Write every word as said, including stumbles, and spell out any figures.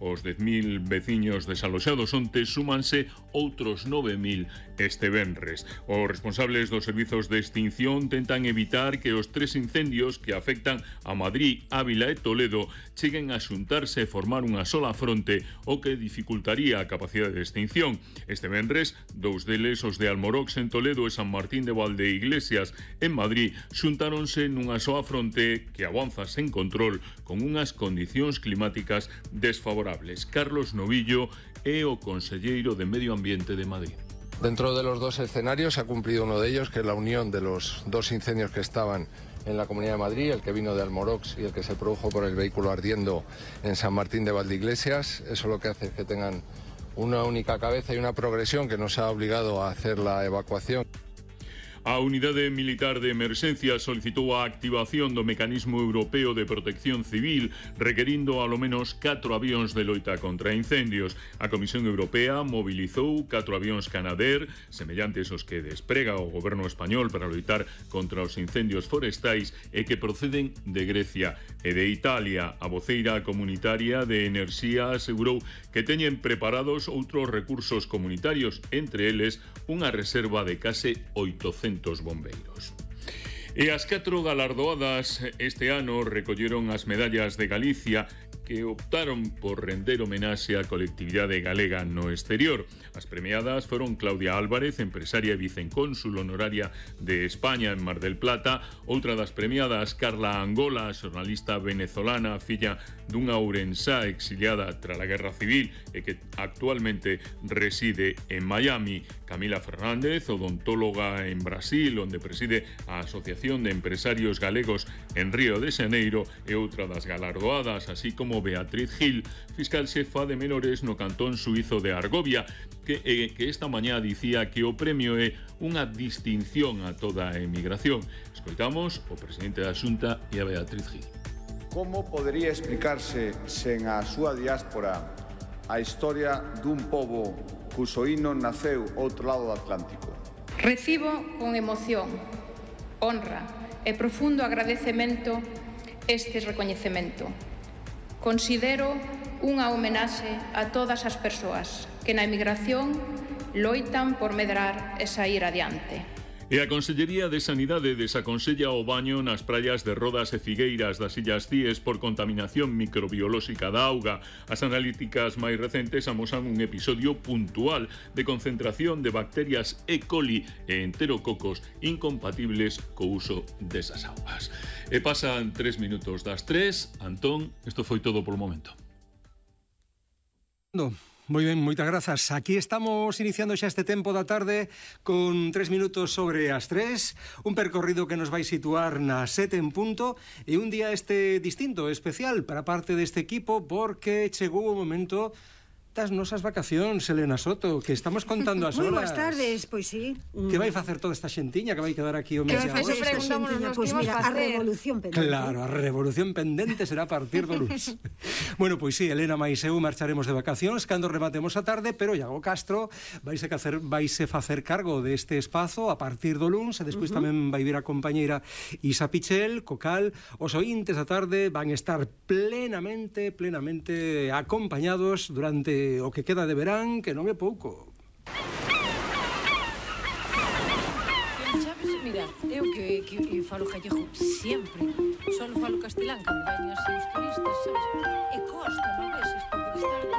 Os dez mil veciños desaloxados onte súmanse outros nove mil este venres. Os responsables dos servizos de extinción tentan evitar que os tres incendios que afectan a Madrid, Ávila e Toledo cheguen a xuntarse e formar unha sola fronte, o que dificultaría a capacidade de extinción. Este venres, dous deles, os de Almorox en Toledo e San Martín de Valdeiglesias en Madrid, xuntáronse nunha soa fronte que avanza sen control con unhas condicións climáticas desfavorables. Carlos Novillo é o conselleiro de Medio Ambiente de Madrid. Dentro de los dos escenarios se ha cumplido uno de ellos, que es la unión de los dos incendios que estaban en la Comunidad de Madrid, el que vino de Almorox y el que se produjo por el vehículo ardiendo en San Martín de Valdeiglesias. Eso lo que hace es que tengan una única cabeza y una progresión que nos ha obligado a hacer la evacuación. A Unidade Militar de Emerxencia solicitou a activación do Mecanismo Europeo de Protección Civil, requerindo alo menos catro avións de loita contra incendios. A Comisión Europea mobilizou catro avións Canadair, semellantes aos que desprega o goberno español para loitar contra os incendios forestais e que proceden de Grecia e de Italia. A voceira comunitaria de Enerxía asegurou que teñen preparados outros recursos comunitarios, entre eles unha reserva de case oitocentos bombeiros. E as catro galardoadas este ano recolleron as medallas de Galicia que optaron por render homenaxe á colectividade galega no exterior. As premiadas foron Claudia Álvarez, empresaria e vicecónsul honoraria de España en Mar del Plata. Outra das premiadas, Carla Angola, xornalista venezolana, filla dunha ourensá exiliada tras a Guerra Civil e que actualmente reside en Miami. Camila Fernández, odontóloga en Brasil, onde preside a Asociación de Empresarios Galegos en Río de Xaneiro, e outra das galardoadas, así como Beatriz Gil, fiscal xefa de menores no cantón suizo de Argovia, que, eh, que esta mañá dicía que o premio é unha distinción a toda a emigración. Escoitamos o presidente da Xunta e a Beatriz Gil. Como podería explicarse sen a súa diáspora a historia dun pobo cuso hino naceu outro lado do Atlántico? Recibo con emoción, honra e profundo agradecemento este recoñecemento. Considero unha homenaxe a todas as persoas que na emigración loitan por medrar e sair adiante. E a Consellería de Sanidade desaconsella o baño nas praias de Rodas e Figueiras das Illas Cíes por contaminación microbiolóxica da auga. As analíticas máis recentes amosan un episodio puntual de concentración de bacterias E. coli e enterococos incompatibles co uso desas augas. E pasan tres minutos das tres. Antón, isto foi todo polo momento. No. Moi ben, moitas grazas. Aquí estamos iniciando xa este tempo da tarde con tres minutos sobre as tres, un percorrido que nos vai situar na sete en punto e un día este distinto, especial para parte deste equipo porque chegou o momento das nosas vacacións, Elena Soto, que estamos contando as horas. Moi boas tardes, pois sí. Que vai facer toda esta xentiña que vai quedar aquí o mes de agosto? Que vai facer esta xentiña? Pois mira, a revolución pendente. Claro, a revolución pendente será a partir do luns. Bueno, pois sí, Elena máis eu marcharemos de vacacións cando rematemos a tarde, pero Iago Castro vaise facer, vaise facer cargo deste espazo a partir do luns e despois uh -huh. tamén vai vir a compañeira Isa Pichel, co cal os ointes a tarde van estar plenamente, plenamente acompañados durante o que queda de verán, que non é pouco. Sabes, mira, eu que, que, que falo gallego sempre, só falo castelán cando veñen así os turistas, sabes? E costa, non ves?